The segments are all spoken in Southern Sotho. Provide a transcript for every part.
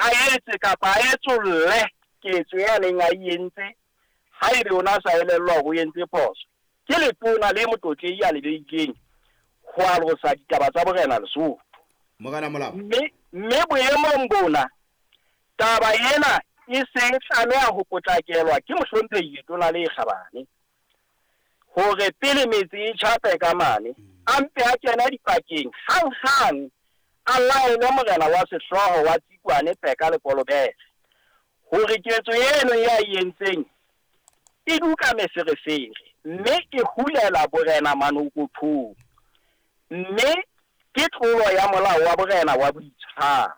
a etse kapa a etsolle ketso e a neng a e entse haebe o na sa elellwa hore o entse phoso. Ke letona le motlotlehi a le behileng ho alosa ditaba tsa borena Lesotho. Morena Molapo. Mme, mme boemong bona, taba ena e se e tlameha ho potlakelwa ke mohlomphehi letona le kgabane hore pele metse e tjha Peka mane, a mpe a kene dipakeng hang-hang, a laele morena wa sehlooho wa Tsikwane Peka le Kolobere hore ketso eno e a e entseng e duka meferefere mme e hulela borena manokothong, mme ke tlolo ya molao wa borena wa boitshwaro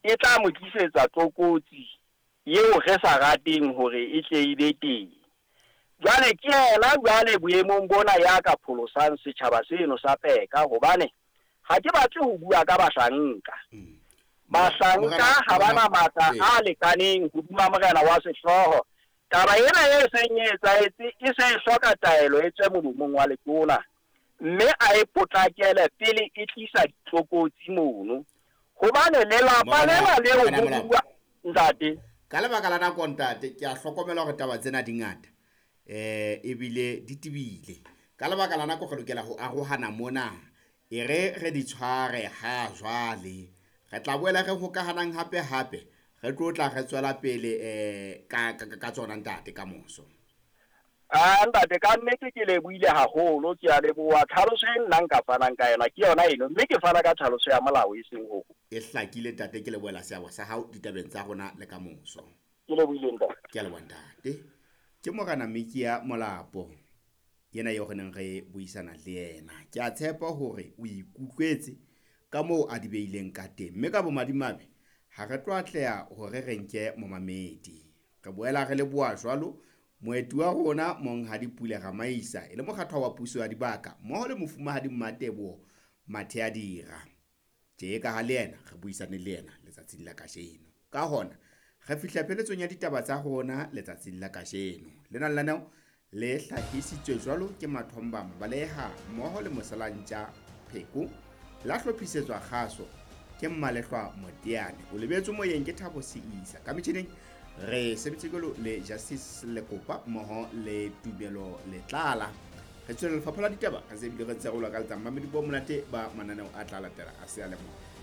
e tla mo tlisetsa tlokotsi eo re sa rateng hore e tle e be teng. Jwale ke yena jwale boemong bona ya ka pholosang setjhaba seno sa Peka, hobane ha ke batle ho bua ka bahlanka. Bahlanka ha ba na matla a lekaneng hodima morena wa sehlooho. Taba ena e seng e etsahetse e se e hloka taelo e tswe molomong wa letona, mme a e potlakele pele e tlisa ditlokotsi mono. Hobane lelapa lena leo ho bua ntate. Ka lebaka la nako ntate, ke a hlokomela hore taba tsena di ngata, ebile di tebile. Ka lebaka la nako re lokela ho arohana mona, e re re di tshware ha jwale. Re tla boela re hokahanang hape hape, re tlo tla re tswela pele ka tsona ntate ka moso. Ah ntate, ka nnete ke lebohile haholo, ke a leboha. Tlhaloso e nna nka fanang ka yona ke yona eno, mme ke fana ka tlhaloso ya molao e seng ho. E hlakile ntate, ke lebohela seabo sa hao ditabeng tsa rona le ka moso. Ke lebohile ntate. Ke a leboha ntate. Ke Morena Mikia Molapo yena eo re neng re buisana le yena. Ke a tshepa hore o ikutlwetse ka moo a di beileng ka teng, mme ka bomadimabe ha re tlo atleha hore re nke momamedi. Re boela re leboha jwalo moeti wa rona Monghadi Pule Ramaisa, e le mokgathwa wa puso ya dibaka mmoho le mofumahadi Mmateboho Matheadira. Tje ka ha le yena re buisane le yena letsatsing la kajeno. Ka hona re fihla pheletsong ya ditaba tsa rona letsatsing la kajeno. Lena lenaneo le hlahisitswe jwalo ke Mathomba Mabaleha mmoho le Mosalantja Pheko, la hlophisetswa kgaso ke Mmalehlwa Moteane. O lebetswe moyeng ke Thabo Seisa. Ka metjhineng re sebetse jwalo le Justice Lekopa mmoho le Tumelo Letlala. Re tswela lefapha la ditaba re se ebile re ntse re o lakaletsa mamedi bo monate ba mananeo a tla latela a seyalemoya.